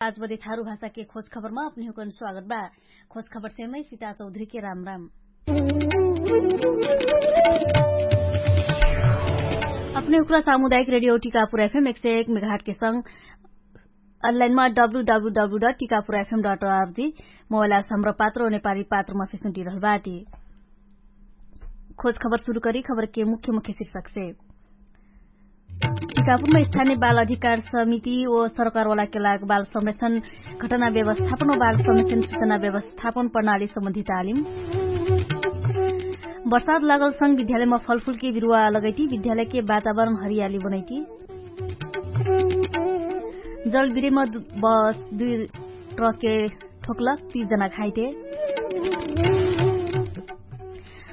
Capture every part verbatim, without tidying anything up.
आज बदे थारु भाषाके खोज खबरमा अपनिहुकन स्वागत बा। खोज खबरसेमै सिता चौधरीके राम राम। अपनिहुकला सामुदायिक रेडियो टिकापुर एफएम एक सय एक मेघाटके संग अनलाइनमा डब्लु डब्लु डब्लु डट टिकापुर एफएम डट अर्जी मोबाइल आस हमरा पात्र नेपाली पात्रमा फेसुन्टी रहल बाटी। खोज खबर सुरु करी खबरके मुख्य मुख्य शिर्षकसे। टिकापुरमा स्थानिय बाल अधिकार समिति ओ सरकारवालाके लाग बाल संरक्षण घटना व्यवस्थापन ओ बाल संरक्षण सुचना व्यवस्थापन प्रणाली सम्बन्धित आलिम। बर्साद लागलसँग विद्यालयमा फलफुलके बिरुवा लगैटी विद्यालयके वातावरण हरियाली बनैटी। जलबिरेमा बस दुई ट्रकके ठोकलक तीस जना घाइटे।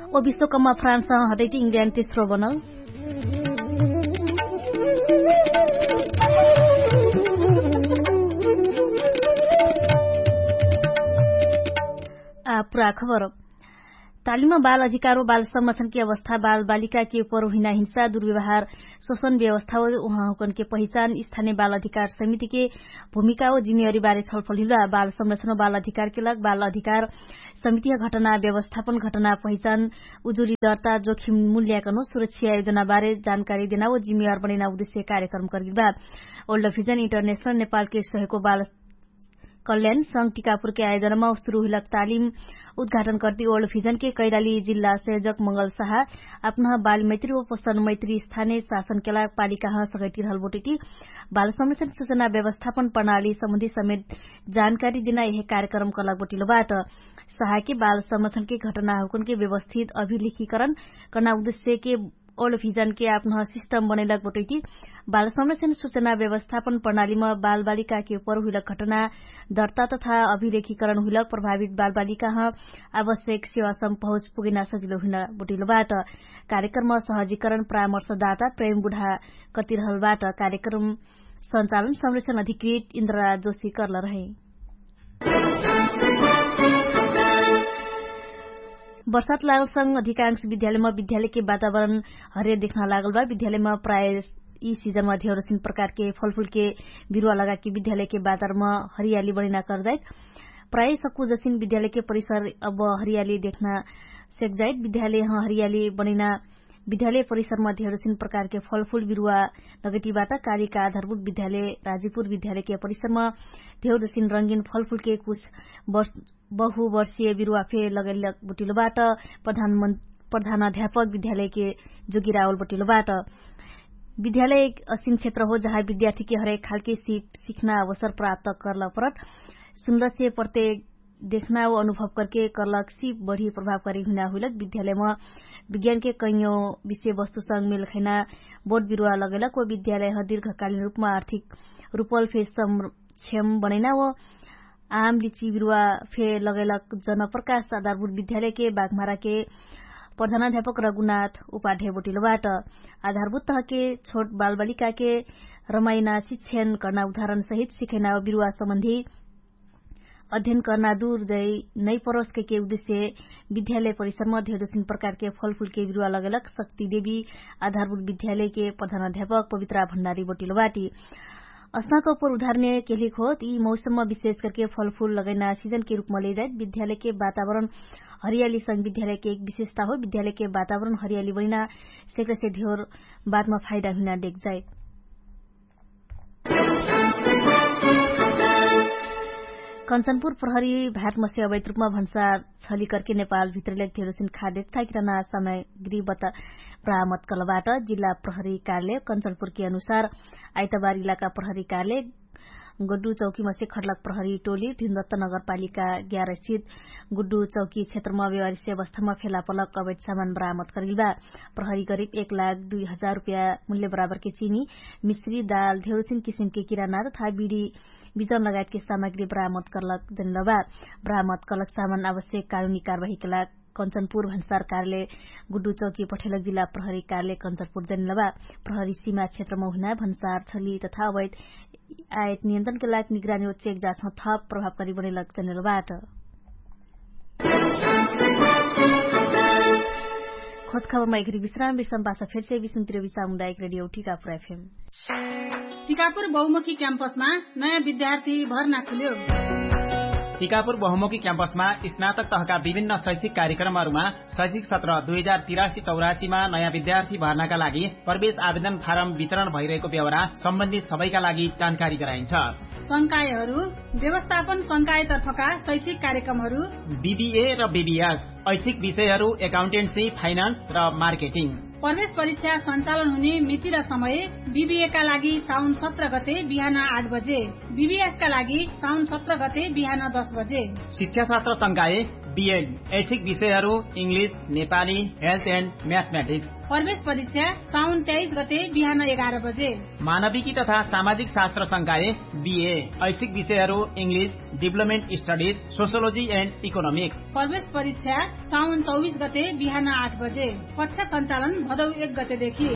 ओ विश्वकपमा फ्रान्स हटैटी इङ्ग्ल्यान्ड तेस्रो बनल। आ पुरा खबर। तालिममा बाल अधिकार व बाल संरक्षणके अवस्था बाल बालिकाके उपर हुइना हिंसा दुर्व्यवहार शोषण व्यवस्था व उहाँहुकनके पहिचान स्थानिय बाल अधिकार समितिके भूमिका व जिम्मेवारी बारे छलफल हुइला। बाल संरक्षण व बाल अधिकारके लग बाल अधिकार समितिह घटना व्यवस्थापन घटना पहिचान उजुरी दर्ता जोखिम मूल्याकन व सुरक्षा आयोजना बारे जानकारी देना व जिम्मेवार बनैना उद्देश्य कार्यक्रम करगिल बा। ओल्ड भिजन इन्टरनेशनल नेपालके सहयोगको बाल कल्याण संग टिकापुरके आयोजनामा सुरु हुइलक तालिम उद्घाटन कर्ति ओल्ड भिजनके कैलाली जिल्ला संयोजक मंगल साहा अपनह बाल मैत्री व पोषण मैत्री स्थानिय शासनके लाग पालिकाह सगैटी रहल बोटिटी बाल संरक्षण सुचना व्यवस्थापन प्रणाली सम्बन्धी समेत जानकारी दिना यहे कार्यक्रम कलक बोटिलो बाट। साहाके बाल संरक्षणके घटनाहुकनके व्यवस्थित अभिलेखीकरण कर्ना उद्देश्यके ओल्ड भिजनके आपनह सिस्टम बनैलक बटैटी बाल संरक्षण सुचना व्यवस्थापन प्रणालीमा बाल बालिकाके उपर हुइलक घटना दर्ता तथा अभिलेखीकरण हुइलक प्रभावित बाल बालिकाह आवश्यक सेवासम पहुँच पुगैना सजिलो हुइना बटैलो बाट। कार्यक्रममा सहजीकरण परामर्शदाता प्रेम बुढा कतिरहल बाट। कार्यक्रम सञ्चालन संरक्षण अधिकृत इन्द्रराज जोशी कर्ल रहै। बर्सात लागलसँग अधिकांश विद्यालयमा विद्यालयके वातावरण हरियर देख्ना लागल बा। विद्यालयमा प्राय यी सिजनमा धेरसिन प्रकारके फलफुलके बिरुवा लगाके विद्यालयके वातावरणमा हरियाली बनैना करजाइत। प्राय सक्कु जसिन विद्यालयके परिसर अब हरियाली देख्ना सेकजाइत। विद्यालयह हरियाली बनैना विद्यालय परिसरमा धेरसिन प्रकारके फलफुल बिरुवा लगैटी बाटा। कालिका आधारभूत विद्यालय राजीपुर विद्यालयके परिसरमा धेरसिन रंगिन फलफुलके कुछ बहुवर्षीय बिरुवा फे लगैलक बटिलो बाट। प्रधान अध्यापक विद्यालयके जोगिरावल बटिलो बाट। विद्यालय असिन क्षेत्र हो जहाँ विद्यार्थीके हरेक खालके सिप सिख्ना अवसर प्राप्त कर्ल परत सुन्दरसे प्रत्येक देखना व अनुभव करके कर्लक सिप बढी प्रभावकारी हुइना हुइलक विद्यालयमा विज्ञानके कैयो विषयवस्तुसँग मेलखैना बोट बिरुवा लगैलक व विद्यालयह दीर्घकालीन रूपमा आर्थिक रूपल फे सक्षम बनैना व आम लिची बिरुवा फे लगैलक। जनप्रकाश आधारभूत विद्यालयके बाघमाराके प्रधानाध्यापक रघुनाथ उपाढे बोटिलो बाट। आधारभूत तहके छोट बालबालिकाके रमाइना शिक्षण कर्ना उदाहरण सहित सिखैना बिरुवा सम्बन्धी अध्ययन कर्ना दुर जै नै परोस कैके उद्देश्य विद्यालय परिसरमा धेरसिन प्रकारके फलफुलके बिरुवा लगैलक शक्ति देवी आधारभूत विद्यालयके प्रधानाध्यापक पवित्रा भण्डारी बोटिलो बाटी। असनाको पूर्वधारने केलिक होत यी मौसममा विशेष करके फलफुल लगैना सिजनके रूपमा लेजाइत विद्यालयके वातावरण हरियाली संग विद्यालयके एक विशेषता हो। विद्यालयके वातावरण हरियाली बनैना सेकसे धेर बातमा फाइदा हुइना देखजाइत। कन्चनपुर प्रहरी भाटमसे अवैत रूपमा भन्सार छली करके नेपाल भित्रलेक धेरसिन खाद्य तथा किराना सामग्री बता बरामद कलबाट। जिल्ला प्रहरी कार्यालय कन्चनपुरके अनुसार आइतबार इलाका प्रहरी कार्यालय गड्डु चौकीमसे खटलक प्रहरी टोली भिमदत्त नगरपालिका ग्यारसित गुड्डु चौकी क्षेत्रमा व्यवहारिक अवस्थामा फेला पलक अवैत सामान बरामद करिलबा। प्रहरी गरिब एक लाख दुई हजार रुपया मुल्य बराबरके चिनी मिश्री दाल धेरसिन किसिमके किराना तथा बिडी बिजन लगायतके सामग्री बरामद कर्लक जनलबा। बरामद कर्लक सामान आवश्यक कानुनी कारवाहीके लाग कन्चनपुर भन्सार कार्यालय गुड्डु चौकी पठेलक जिल्ला प्रहरी कार्यालय कन्चनपुर जनलबा। प्रहरी सीमा क्षेत्रमा हुइना भन्सार छली तथा अवैत आयत नियन्त्रणके लाग निगरानी व चेक जाँचमा थप प्रभावकारी बनैलक जनलबाट। खोज खबरमा एकरी विश्राम विश्राम पासा फेरसे विश्राम तिरवी सामुदायिक रेडियो टिकापुर एफएम। टिकापुर बहुमुखी क्याम्पसमा नयाँ विद्यार्थी भर्ना खुल्यो। टिकापुर बहुमुखी क्याम्पसमा स्नातक तहका विभिन्न शैक्षिक कार्यक्रमहरूमा शैक्षिक सत्र दुई हजार तिरासी चौरासीमा नयाँ विद्यार्थी भर्नाका लागि प्रवेश आवेदन फारम वितरण भइरहेको व्यवहार सम्बन्धित सबैका लागि जानकारी गराइन्छ। संकायहरू व्यवस्थापन संकायतर्फका शैक्षिक कार्यक्रमहरू बिबिए र बिबिएस, ऐच्छिक विषयहरू एकाउन्टेन्सी, फाइनान्स र मार्केटिङ। प्रवेश परीक्षा सञ्चालन हुने मिति र समय बिबिएका लागि साउन सत्र गते बिहान आठ बजे, बिबिएसका लागि साउन सत्र गते बिहान दस बजे। शिक्षाशास्त्र संकाय बिएड, ऐच्छिक विषयहरू इङ्ग्लिस, नेपाली, हेल्थ एन्ड म्याथमेटिक्स। प्रवेश परीक्षा साउन तेइस गते बिहान एघार बजे। मानविकी तथा सामाजिक शास्त्र संकाय बिए, ऐच्छिक विषयहरू इङ्ग्लिस, डिभलपमेन्ट स्टडिज, सोसियोलोजी एन्ड इकोनोमिक्स। प्रवेश परीक्षा साउन चौबिस गते बिहान आठ बजे। कक्षा सञ्चालन भदौ एक गतेदेखि।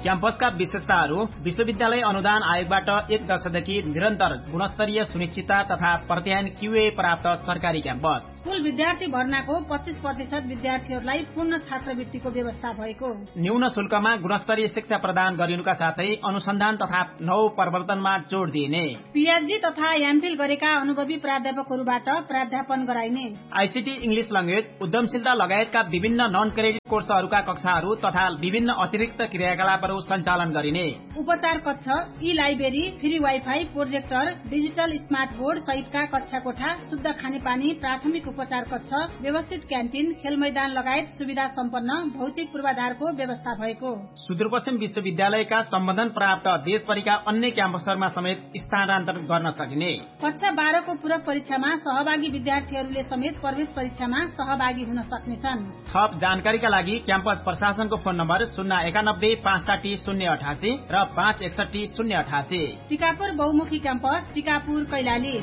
क्याम्पसका विशेषताहरू विश्वविद्यालय अनुदान आयोगबाट एक दशकदेखि निरन्तर गुणस्तरीय सुनिश्चितता तथा प्रत्यायन क्युए प्राप्त सरकारी क्याम्पस। कुल विद्यार्थी भर्नाको पच्चिस प्रतिशत विद्यार्थीहरूलाई पूर्ण छात्रवृत्तिको व्यवस्था भएको। न्यून शुल्कमा गुणस्तरीय शिक्षा प्रदान गरिनुका साथै अनुसन्धान तथा नव प्रवर्तनमा जोड दिइने। पिएचडी तथा एमफिल गरेका अनुभवी प्राध्यापकहरूबाट प्राध्यापन गराइने। आइसिटी, इङ्ग्लिस ल्याङ्ग्वेज, उद्यमशीलता लगायतका विभिन्न नन क्रेडिट कोर्सहरूका कक्षाहरू तथा विभिन्न अतिरिक्त क्रियाकलापहरू सञ्चालन गरिने। उपचार कक्ष, ई library, free wifi, projector, digital smart board सहितका कक्षा कोठा, शुद्ध खानेपानी, प्राथमिक उपचार कक्ष, व्यवस्थित क्यान्टिन, खेलमैदान लगायत सुविधा सम्पन्न भौतिक पूर्वाधारको व्यवस्था भएको। सुदूरपश्चिम विश्वविद्यालयका सम्बन्धन प्राप्त देशभरिका अन्य क्याम्पसहरूमा समेत स्थानान्तरण गर्न सकिने। कक्षा बाह्रको पूरक परीक्षामा सहभागी विद्यार्थीहरूले समेत प्रवेश परीक्षामा सहभागी हुन सक्नेछन्। थप जानकारीका लागि क्याम्पस प्रशासनको फोन नम्बर शून्य एकानब्बे पाँच साठी शून्य अठासी र पाँच एकसठी शून्य अठासी। टिकापुर बहुमुखी क्याम्पस, टिकापुर, कैलाली।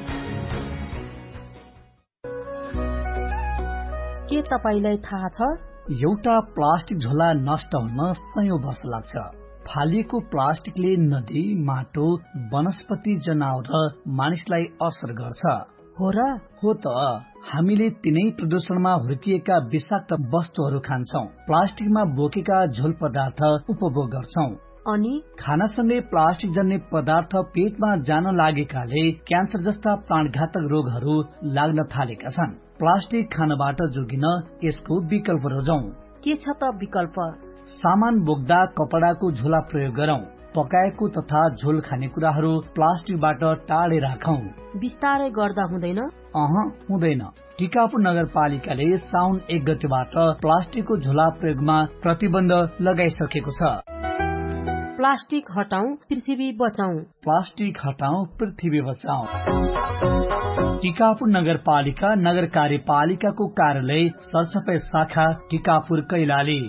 के तपाईंलाई थाहा छ? एउटा प्लास्टिक झोला नष्ट हुन सयौं वर्ष लाग्छ। फालिएको प्लास्टिकले नदी, माटो, वनस्पति, जनावर र मानिसलाई असर गर्छ। हो र? हो त, हामीले तिनै प्रदूषणमा हुर्किएका विषाक्त वस्तुहरू खान्छौं, प्लास्टिकमा बोकेका झोल पदार्थ उपभोग गर्छौं। अनि खानासँगै प्लास्टिक जन्ने पदार्थ पेटमा जान लागेकाले क्यान्सर जस्ता प्राणघातक रोगहरू लाग्न थालेका छन्। प्लास्टिक खानबाट जोगिन यसको विकल्प रोजौं। के छ त विकल्प? सामान बोक्दा कपडाको झोला प्रयोग गरौं। पकाएको तथा झोल खाने कुराहरू प्लास्टिकबाट टाढे राखौं। बिस्तारै गर्दा हुँदैन? अह, हुँदैन। टिकापुर नगरपालिकाले साउन एक गतिबाट प्लास्टिकको झोला प्रयोगमा प्रतिबन्ध लगाइसकेको छ। प्लास्टिक हटाउँ, पृथ्वी बचाउँ। प्लास्टिक हटाउँ, पृथ्वी बचाउँ। टिकापुर नगरपालिका, नगर कार्यपालिकाको कार्यालय, सरसफाई शाखा, टिकापुर, कैलाली।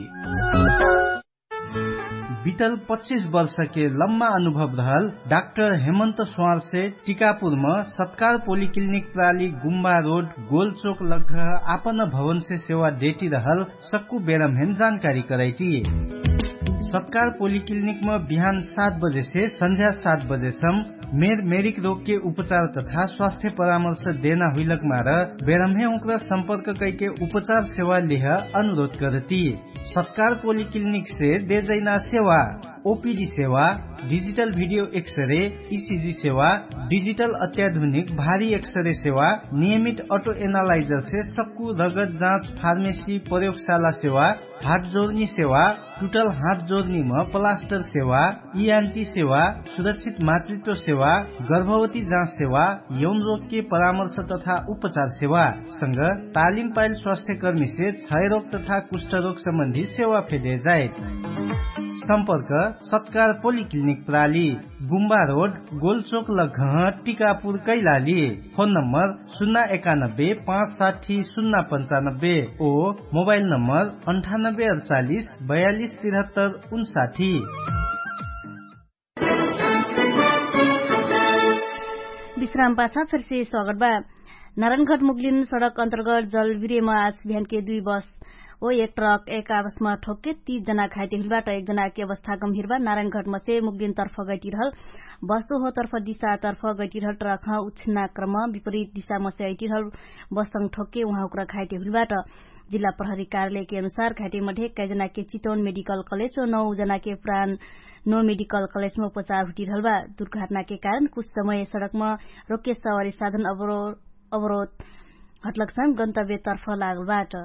बितल पच्चिस वर्षके लम्मा अनुभव रहल डाक्टर हेमन्त स्वारसे टिकापुरम सत्कार पोलिक्लिनिक प्राली गुम्बा रोड गोलचोक लग्घ आपन भवनसे सेवा डेटी रहल सक्कु बेरमहेम जानकारी करैटी। सत्कार पोलिक्लिनिकम बिहान सात बजेसे सन्झ्या सात बजेसम मेर मेरिक रोगके उपचार तथा स्वास्थ्य परामर्श देना हुइलक मार बेरमहे उक्र सम्पर्क कैके उपचार सेवा लेह अनुरोध करती। सत्कार पोलिक्लिनिकसे देजैना सेवा, ओपिडी सेवा, डिजिटल भिडियो एक्सरे, इसिजी सेवा, डिजिटल अत्याधुनिक भारी एक्सरे सेवा, नियमित अटो एनालाइजरसे सक्कु रगत जाँच, फार्मेसी, प्रयोगशाला सेवा, हात जोर्नी सेवा, टुटल हात जोर्नीम प्लास्टर सेवा, इआन्टी सेवा, सुरक्षित मातृत्व सेवा, गर्भवती जाँच सेवा, यौन रोगके परामर्श तथा उपचार सेवा संग तालिम पाइल स्वास्थ्यकर्मीसे क्षयरोग तथा कुष्ठरोग सम्बन्धी सेवा फेदे जाइत। सम्पर्क सत्कार पोलिक्लिनिक प्राली, गुम्बा रोड, गोलचोक लघह, टिकापुर, कैलाली। फोन नम्बर सुन्ना एकानब्बे पाँच साठी सुन्ना पन्चानब्बे ओ मोबाइल नम्बर अन्ठानब्बे अडचालिस बयालिस तिरहत्तर उन्साठी। विश्राम पाछा फेरसे स्वागत बा। नारायणघट मुगलिन सडक अन्तर्गत जलविरेम आज बिहानके दुई बस ओ एक ट्रक एक आपसमा ठोक्के तीस जना घाइते हुइलबाट एक जनाके अवस्था गम्भिर बा। नारायणघटमसे मुगलिन तर्फ गैटिरहल बस ओहो तर्फ दिशा तर्फ गैटिरहल ट्रक उछिन्ना क्रम विपरीत दिशामसे अइटिरहल बससँग ठोक्के उहाँ उक्रा घाइते हुइलबाट। जिल्ला प्रहरी कार्यालयके अनुसार घाइटेमा ढेक्काइ जनाके चितौन मेडिकल कलेज व नौ जनाके प्राण नौ मेडिकल कलेजमा उपचार हुटिरहलबा। दुर्घटनाके कारण कुछ समय सडकमा रोक्य सवारी साधन अवरोध हटलकसम गन्तव्यतर्फ लागलबाट।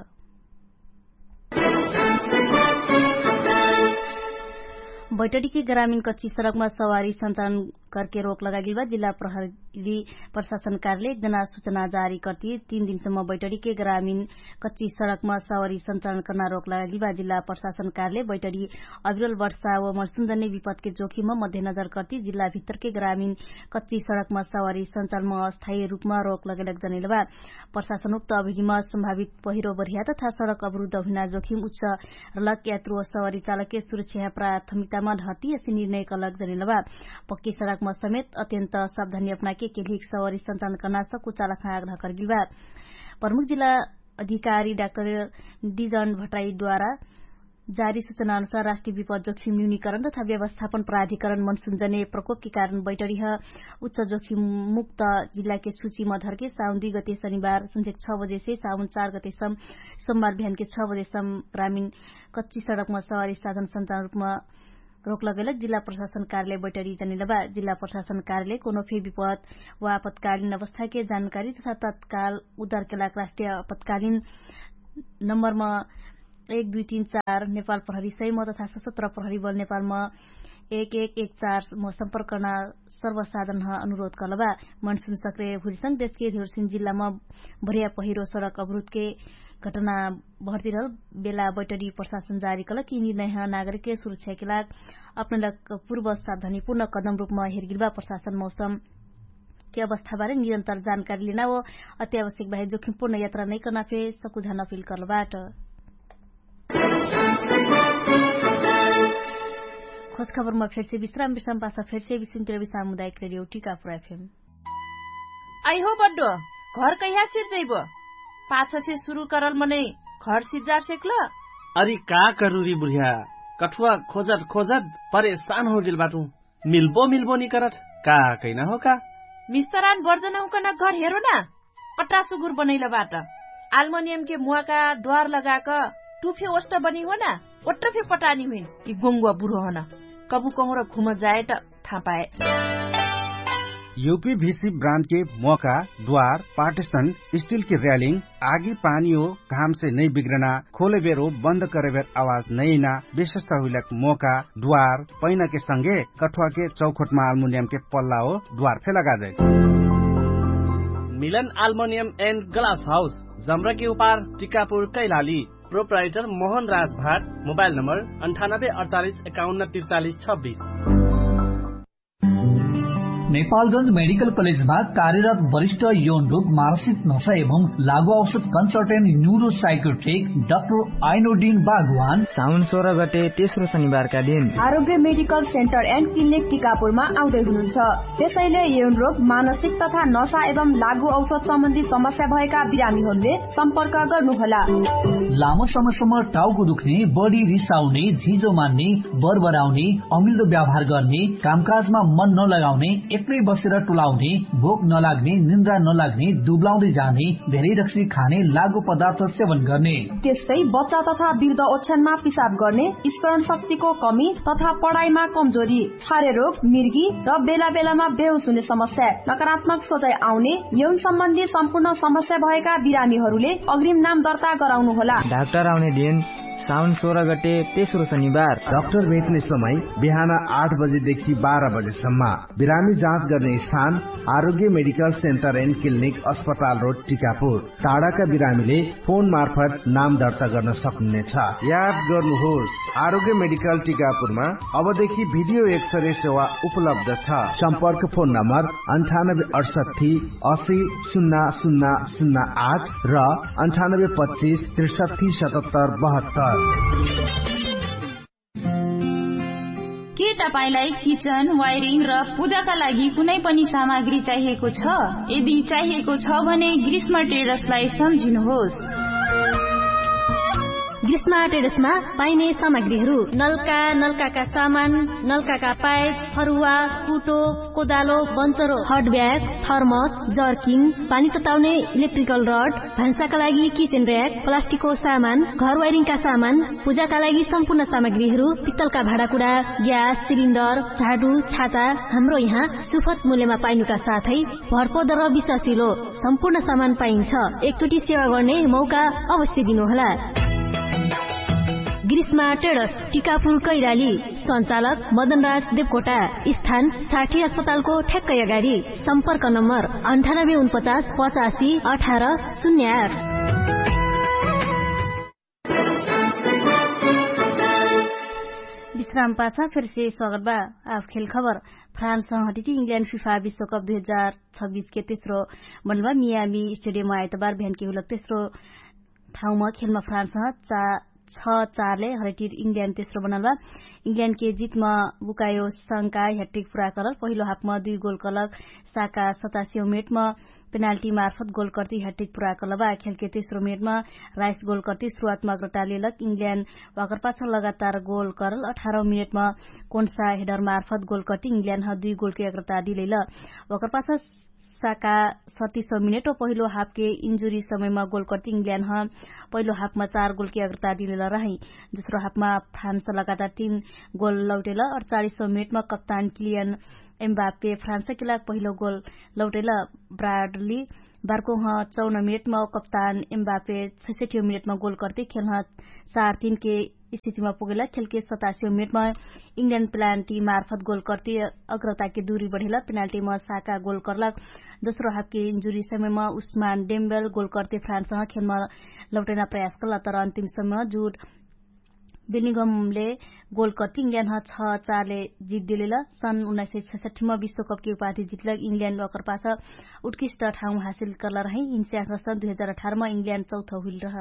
बैटडीके ग्रामीण कच्ची सडकमा सवारी सञ्चालन करके रोक लगागिलबा जिल्ला प्रहरी प्रशासन कार्यालय एक जना सुचना जारी करती। तीन दिनसम्म बैटडीके ग्रामीण कच्ची सडकमा सवारी सञ्चालन कर्ना रोक लगागिलबा जिल्ला प्रशासन कार्यालय बैटडी अविरल वर्षा व मर्सुन्दने विपदके जोखिममा मध्यनजर करती जिल्ला भित्तरके ग्रामीण कच्ची सडकमा सवारी सञ्चालनमा अस्थायी रूपमा रोक लगेलक जनैलबा। प्रशासन उक्त अभिनिमा सम्भावित पहिरो बढिया तथा सडक अवरुद्ध हुइना जोखिम उच्च रलक यात्रु व सवारी चालकके सुरक्षा प्राथमिकतामा ढहती यसे निर्णय कलक जनैलबा। पक्की सडकमा समेत अत्यन्त सावधानी अपनाके केलिक सवारी सञ्चालन कर्ना सकुचालक आग्रह करगिलबा। प्रमुख जिल्ला अधिकारी डाक्टर डिजन भट्टाई द्वारा जारी सुचना अनुसार राष्ट्रिय विपद जोखिम न्यूनिकरण तथा व्यवस्थापन प्राधिकरण मनसुन जने प्रकोपके कारण बैटरिह उच्च जोखिम मुक्त जिल्लाके सुचिमा धरके साउन दुई गते शनिबार संझेक छ बजेसे साउन चार गतेसम सोमबार बिहानके छ बजेसम ग्रामीण कच्ची सडकमा सवारी साधन सञ्चालन रूपमा रोक लगैलक जिल्ला प्रशासन कार्यालय बैटरी जनिलबा। जिल्ला प्रशासन कार्यालय कोनो फे विपद वा आपतकालीन अवस्थाके जानकारी तथा तत्काल उद्धारके लाग राष्ट्रिय आपतकालीन नम्बरमा एक दुई तीन चार नेपाल प्रहरी सैम तथा सशस्त्र प्रहरी बल नेपालमा एक एक एक चार म सम्पर्कना सर्वसाधन अनुरोध कलबा। मनसुन सक्रिय हुरिसंग देशके धिउरसिन जिल्लामा भरिया पहिरो सडक अवरुद्धके घटना भर्तिरहल बेला बैटरी प्रशासन जारी कलक यिनी नैह नागरिकके सुरक्षाके लाग अपनैलक पूर्व सावधानीपूर्ण कदम रूपमा हेरगिलबा। प्रशासन मौसमके अवस्थाबारे निरन्तर जानकारी लिना व अत्यावश्यक बाहेर जोखिमपूर्ण यात्रा नैकर्ना फे सकुझा नफिल कर्लबाट। खोजखबरमा फेरसे विश्राम विश्राम पासा फेरसे विश्राम तिरवि सामुदायक रेडियो टिकापुर एफएम। आइहो बड्डो, घर कैहा सिर्जैबो? पाछसे सुरु करल मनै घर सिर्जार सेक्ल? अरि का करुरी बुढिया, कठुवा खोजत खोजत परेशान होगेल बाटु। मिल्बो मिल्बो निकरत का कैना हो का? मिस्तरान बर्जनौकन घर हेरो ना। अट्टा सुगुर बनैलबाट आल्मनियमके मुवाका द्वार लगाक टुफे ओष्ट बनी हो ना। ओट्ट फे पटानी हुइन कि गोङ्गुवा बुढो हन कबु कहुँर घुम जाएट थापाए। युपीभिसी ब्रान्डके मोका द्वार पार्टिसन स्टिलके र्यालिङ आगी पानी हो घामसे नै बिग्रना खोलेबेर हो बन्द करेबेर आवाज नैना विशेषता हुइलक मोका द्वार पैनाके संगे कठुवाके चौखोटमा आल्मुनियमके पल्ला हो द्वार फे लगाजै। मिलन आल्मुनियम एन्ड ग्लास हाउस जम्रके उपार टिकापुर कैलाली। प्रोप्राइटर मोहन राजभाट। मोबाइल नम्बर अन्ठानब्बे अडचालिस एकाउन्न तिरचालिस छब्बिस। नेपालगंज मेडिकल कलेजमा कार्यरत वरिष्ठ यौन रोग मानसिक नशा एवं लागु औषध कन्सल्टेन्ट न्युरो साइकोट्रिक डाक्टर आइनोडिन बागवान साउन सोह्र गते तेस्रो शनिबारका दिन आरोग्य मेडिकल सेन्टर एन्ड क्लिनिक टिकापुरमा आउँदै हुनुहुन्छ। त्यसैले यौन रोग मानसिक तथा नशा एवं लागु औषध सम्बन्धी समस्या भएका बिरामीहरूले सम्पर्क गर्नुहोला। लामो समयसम्म टाउको दुख्ने, बढी रिसाउने, झिजो मान्ने, बरबराउने, अमिल्दो व्यवहार गर्ने, कामकाजमा मन नलगाउने, एक्लै बसेर टुलाउने, भोक नलाग्ने, निन्द्रा नलाग्ने, दुब्लाउँदै जाने, धेरै रक्सी खाने, लागु पदार्थ सेवन गर्ने, त्यस्तै बच्चा तथा वृद्ध ओछ्यानमा पिसाब गर्ने, स्मरण शक्तिको कमी तथा पढाइमा कमजोरी, छारे रोग, मिर्गी र बेला बेलामा बेहोस हुने समस्या, नकारात्मक सोचाइ आउने, यौन सम्बन्धी सम्पूर्ण समस्या भएका बिरामीहरूले अग्रिम नाम दर्ता गराउनुहोला। डाक्टर आउने दिन साउन सोह्र गते तेस्रो शनिबार। डाक्टर भेट्ने समय बिहान आठ बजेदेखि बाह्र बजेसम्म। बिरामी जाँच गर्ने स्थान आरोग्य मेडिकल सेन्टर एन्ड क्लिनिक अस्पताल रोड टिकापुर। टाढाका बिरामीले फोन मार्फत नाम दर्ता गर्न सक्नुहुनेछ। याद गर्नुहोस्, आरोग्य मेडिकल टिकापुरमा अबदेखि भिडियो एक्सरे सेवा उपलब्ध छ। सम्पर्क फोन नम्बर अन्ठानब्बे अडसट्ठी असी सुन्ना सुन्ना सुन्ना आठ र अन्ठानब्बे पच्चिस त्रिसट्ठी सतहत्तर बहत्तर। के तपाईंलाई किचन, वायरिङ र पूजाका लागि कुनै पनि सामग्री चाहिएको छ? यदि चाहिएको छ भने ग्रीष्म टेडर्सलाई सम्झिनुहोस्। ग्रीष्मा ट्रेडर्समा पाइने सामग्रीहरू नल्का, नल्काका सामान, नल्काका पाइप, फरुवा, कुटो, कोदालो, बन्चरो, हटब्याग, थर्मस, जर्किङ, पानी तताउने इलेक्ट्रिकल रड, भान्साका लागि किचेन र्‍याक, प्लास्टिकको सामान, घर वाइरिङका सामान, पूजाका लागि सम्पूर्ण सामग्रीहरू, पित्तलका भाँडाकुडा, ग्यास सिलिन्डर, झाडु, छाता, हाम्रो यहाँ सुफत मूल्यमा पाइनुका साथै भरपर्दो र विश्वासिलो सम्पूर्ण सामान पाइन्छ। एकचोटि सेवा गर्ने मौका अवश्य दिनुहोला। ग्रीष्मा ट्रेडर्स, टिकापुर कैराली। सञ्चालक मदनराज देवकोटा। स्थान साठी अस्पतालको ठ्याक्कै अगाडि। सम्पर्क नम्बर अन्ठानब्बे उनपचास पचासी अठार शून्य आठ। विश्राम पाछा फेरसे स्वागत बा। आफ खेल खबर। फ्रान्स हटिटी इङ्ल्यान्ड फिफा विश्वकप दुई हजार छब्बिस के तेस्रो बनबा मियामी स्टेडियम आइतबार बिहान के हुलक तेस्रो ठाउँमा खेलमा फ्रान्स छ चारले हरेटिर इङ्ल्यान्ड तेस्रो बनल बा। इङ्ल्यान्ड के जितमा बुकायो संका ह्याट्रिक पुरा करल। पहिलो हाफमा दुई गोल कलक साका सतासियो मिनेटमा पेनाल्टी मार्फत गोल कर्ती ह्याट्रिक पुरा करल बा। खेलके तेस्रो मिनेटमा राइस गोल कर्ती सुरुवातमा अग्रता लेलक। इङ्ल्यान्ड वाकर पाछ लगातार गोल करल अठारह मिनेटमा कोन्सा हेडर मार्फत गोल कर्ती इङ्ल्यान्ड ह दुई गोलके अग्रता दिलैल। वाकर पाछ साका सतिसौ मिनेट ओ पहिलो हाफके इन्जुरी समयमा गोल कर्ती इङ्ल्यान्ड ह पहिलो हाफमा चार गोलके अग्रता दिलेल रहै। दोस्रो हाफमा फ्रान्स लगातार तीन गोल लौटेल। अडचालिसौ मिनेटमा कप्तान किलियन एम्बापे फ्रान्सके लाग पहिलो गोल लौटेल। ब्राडली बार्कोह चौन मिनेटमा कप्तान एम्बापे छैसठियो मिनेटमा गोल कर्ती खेलह चार तीनके स्थितिमा पुगेला। खेलके सतासियो मिनेटमा इङ्ल्यान्ड प्लान्टी मार्फत गोल कर्ती अग्रताके दुरी बढेला। पेनाल्टीमा साका गोल कर्ला। दोस्रो हाफके इन्जुरी समयमा उस्मान डेम्बेल गोल कर्ती फ्रान्सह खेलमा लौटैना प्रयास कर्ला तर अन्तिम समयमा जुट बेलिङ्गमले गोल कर्ती इङ्ल्यान्ड ह छ चारले जित दिलेल। सन् उन्नाइस सय छैसठीमा विश्वकपके उपाधि जितलक इङ्ल्यान्ड अकरपास उत्कृष्ट ठाउँ हासिल कर्ला रहै। इन्स्यास सन् दुई हजार अठारमा इङ्ल्यान्ड चौथौ हुइल रह।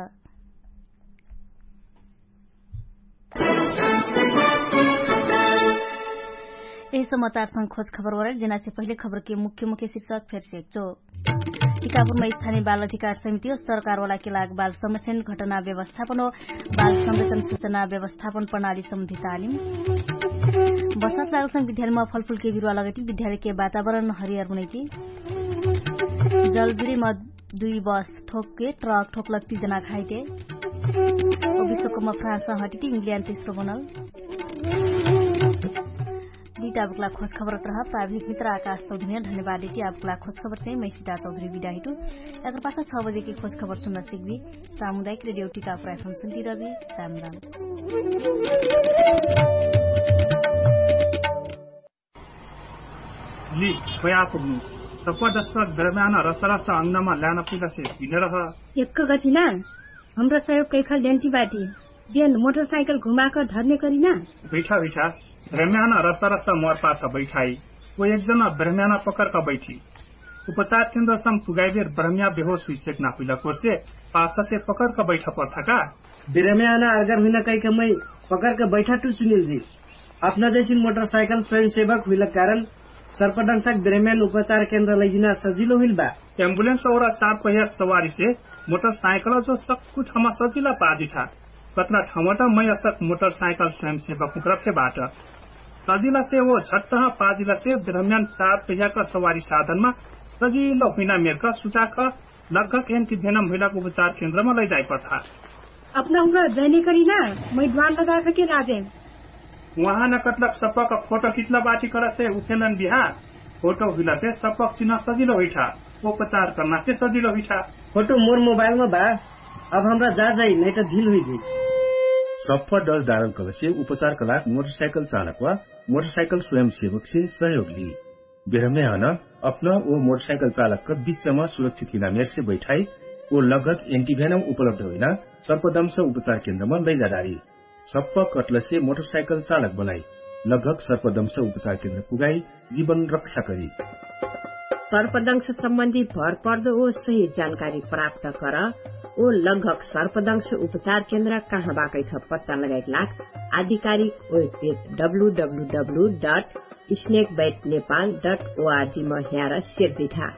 यही समाचारसँग खोज खबर वरेल जेनासे पहिले खबरके मुख्य मुख्य शिर्षक फेरसे चो। टिकापुरमा स्थानीय बाल अधिकार समिति हो सरकारवालाके लाग बाल समस्यान घटना व्यवस्थापन हो बाल संरक्षण सूचना व्यवस्थापन प्रणाली सम्बन्धी तालिम। बसात लागलसँग विद्यालयमा फलफुलके बिरुवा लगैती विद्यालयके वातावरण हरियर हुनैती। जलजुरीमा दुई बस ठोकके ट्रक ठोकलक तिजना खाइते। विश्वकपमा फ्रान्स हटिटी इङ्ल्यान्ड तेस्रो बनल। दिता बुक्ला खोज खबर रह प्राविधिक मित्र आकाश चौधरी धन्यवाद दिटी आबुक्ला खोज खबर चाहिँ मैसिता चौधरी बिदा हिटु। एकर पाछा छ बजेके खोज खबर सुन्न सिक्बी। सामुदायिक रेडियो टिका प्रायफम सुन्ती रबी। राम राम। लि पया पुग्नु। सप्पा दस्पा दरम्यान रसरस अङ्गमा ल्यान पुइलासे पिनरह। एक्क गतिना हमरा सहयोग कैखा ल्यान्टी बाटी। बेन मोटरसाइकल घुमाक धर्ने करिना। बैठा बैठा। दरम्यान रसरस मोर पाछ बैठाइ। ओ एकजना ब्रह्म्याना पकरका बैठी। उपचार केन्द्रसम पुगाइबेर ब्रह्म्या बेहोस हुइसेक नापुइला कोर्से पाछसे पकरका बैठा पर्थाका। बिरम्याना अर्गर हुइना कैक मै पकरक बैठा टु सुनिल जी। अपना जैसिन मोटरसाइकल स्वयंसेवक हुइलक कारण सर्पदंशक बिरम्यान उपचार केन्द्र लैजिना सजिलो हुइल बा। एम्बुलेन्स और चार पहियाक सवारीसे मोटरसाइकल जो सक्कु ठाउँमा सजिला पाजिठा। कतना ठाउँमा त मै असक मोटरसाइकल स्वयंसेवक हुँक्रफे बाट। सजिलासे ओ झट्टह पाजिलासे बिरम्यान चार पहियाक सवारी साधनमा सजिलो हुइना मेरका सुचाक लगभग एन्टिभेनम हुइलाक उपचार केन्द्रमा लैजाइपर्था। अपना हुँका जैने करिना मै द्वान लगाखके लाजे। उहाँ न कटलक सप्पक फोटो खिच्न बाटी करसे उफेलन बिहा। फोटो हुइलासे सप्पक चिन्ह सजिलो हुइठा। उपचार कर्नाके सजिलो हुइठा। फोटो मोर मोबाइलमा बा। अब हमरा जा जाइ नैत ढिल हुइगै। सप्प डज डारल कलसे उपचार कलाक मोटरसाइकल चालक वा मोटरसाइकल स्वयंसेवकसे सहयोग ली। बेरहमे हन अपना ओ मोटरसाइकल चालकक बिच्चमा सुरक्षित हुइना मेरसे बैठाइ ओ लगभग एन्टिभेनम उपलब्ध हुइना सर्पदंश उपचार केन्द्रमा लैजाडारी। सप्प कटलसे मोटरसाइकल चालक बनाइ लगभग सर्पदंश उपचार केन्द्र पुगाइ जीवन रक्षा करी। सर्पदंश सम्बन्धी भरपर्दो ओ सही जानकारी प्राप्त कर। ओ लगभग सर्पदंश उपचार केन्द्र कहाँ बाकैथ पत्ता लगाइक लाग आधिकारिक webpage W W W dot snake bat Nepal dot O R G म ह्यार सेर्दिठा।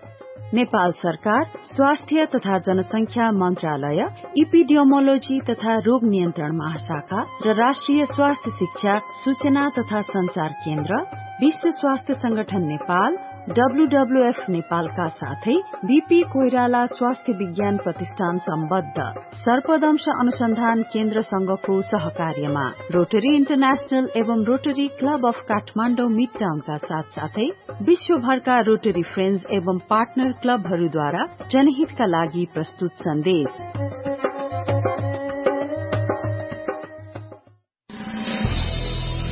नेपाल सरकार स्वास्थ्य तथा जनसंख्या मन्त्रालय, इपिडियोमोलोजी तथा रोग नियन्त्रण महाशाखा र राष्ट्रिय स्वास्थ्य शिक्षा, सूचना तथा सञ्चार केन्द्र, विश्व स्वास्थ्य संगठन नेपाल, डब्ल्युडब्ल्युएफ नेपालका साथै बिपी कोइराला स्वास्थ्य विज्ञान प्रतिष्ठान सम्बद्ध सर्पदंश अनुसन्धान केन्द्रसँगको सहकार्यमा रोटरी इन्टरनेशनल एवं रोटरी क्लब अफ काठमाडौँ मिड टाउनका साथसाथै विश्वभरका रोटरी फ्रेन्ड्स एवं पार्टनर क्लबहरूद्वारा जनहितका लागि प्रस्तुत सन्देश।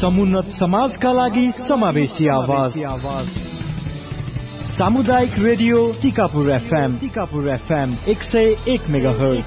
समुन्नत समाजका लागि समावेशी आवाज। सामुदायिक रेडियो टिकापुर एफएम, टिकापुर एफएम एक सय एक मेगाहर्ज।